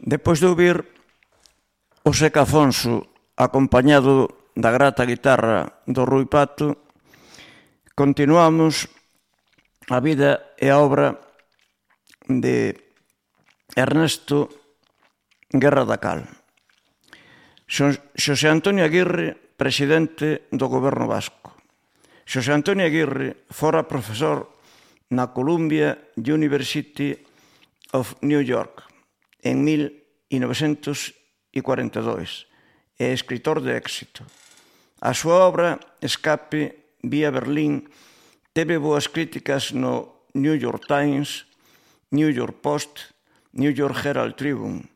Depois de ouvir o Seca Afonso acompañado da grata guitarra do Rui Pato, continuamos a vida e a obra de Ernesto Guerra da Cal. Xosé Antonio Aguirre, presidente do Goberno Vasco. Xosé Antonio Aguirre fora profesor na Columbia University of New York en 1942 e escritor de éxito. A súa obra Escape vía Berlín teve boas críticas no New York Times, New York Post, New York Herald Tribune.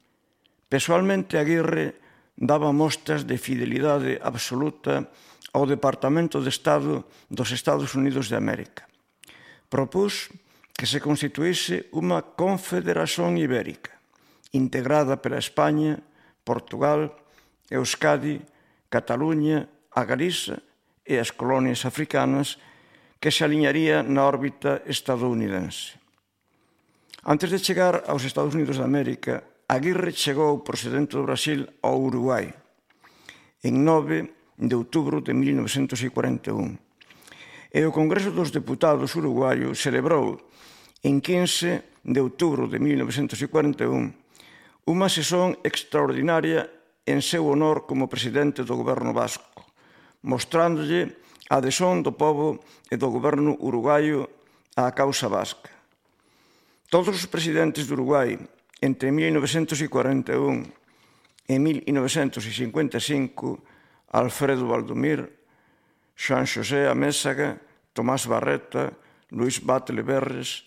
Pessoalmente, Aguirre daba mostras de fidelidade absoluta ao Departamento de Estado dos Estados Unidos de América. Propús que se constituíse unha confederación ibérica, integrada pela España, Portugal, Euskadi, Cataluña, a Galiza e as colonias africanas, que se aliñaría na órbita estadounidense. Antes de chegar aos Estados Unidos de América, Aguirre chegou procedente do Brasil ao Uruguai en 9 de outubro de 1941. E o Congreso dos Deputados uruguaio celebrou en 15 de outubro de 1941 unha sesión extraordinaria en seu honor como presidente do Goberno Vasco, mostrándolle a adhesión do pobo e do goberno uruguaio á causa vasca. Todos os presidentes do Uruguai entre 1941 e 1955, Alfredo Valdomir, Juan José Amézaga, Tomás Barreta, Luis Batlle Berres,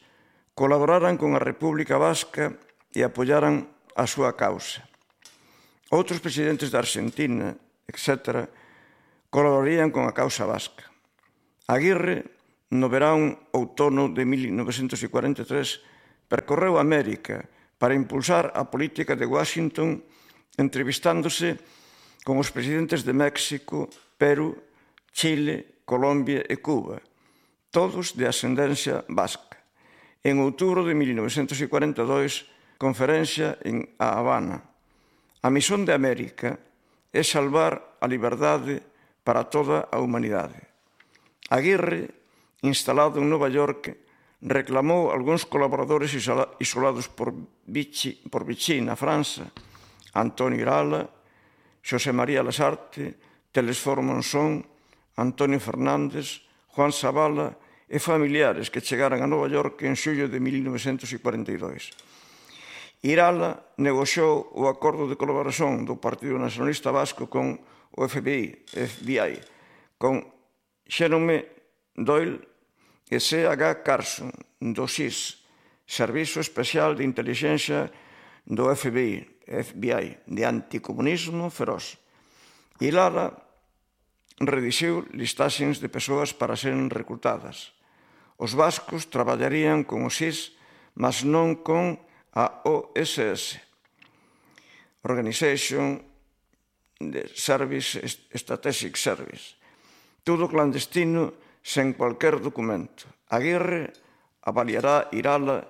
colaboraran con a República Vasca e apoyaran a súa causa. Outros presidentes da Argentina, etc., colaborarían con a causa vasca. Aguirre, no verán outono de 1943, percorreu América para impulsar a política de Washington, entrevistándose con os presidentes de México, Perú, Chile, Colombia e Cuba, todos de ascendencia vasca. En outubro de 1942, conferencia en A Habana. A misión de América é salvar a liberdade para toda a humanidade. Aguirre, instalado en Nova York, reclamou algúns colaboradores isolados por Vichy na França, Antonio Irala, Xosé María Lasarte, Telesforo Monzón, Antonio Fernández, Juan Zavala e familiares que chegaran a Nova York en xullo de 1942. Irala negociou o acordo de colaboración do Partido Nacionalista Vasco con o FBI, con Jerome Doyle e C.H. Carson, do SIS, Servizo Especial de Intelixencia do FBI, de anticomunismo feroz. Irala redixiu listaxes de persoas para seren recrutadas. Os vascos traballarían con o SIS, mas non con a OSS, Organization Service Strategic Service. Todo clandestino, sen cualquier documento. Aguirre avaliará Irala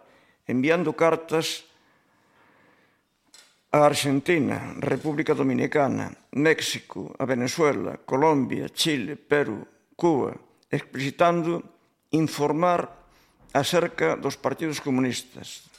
enviando cartas a Argentina, República Dominicana, México, a Venezuela, Colombia, Chile, Perú, Cuba, explicitando informar acerca dos partidos comunistas,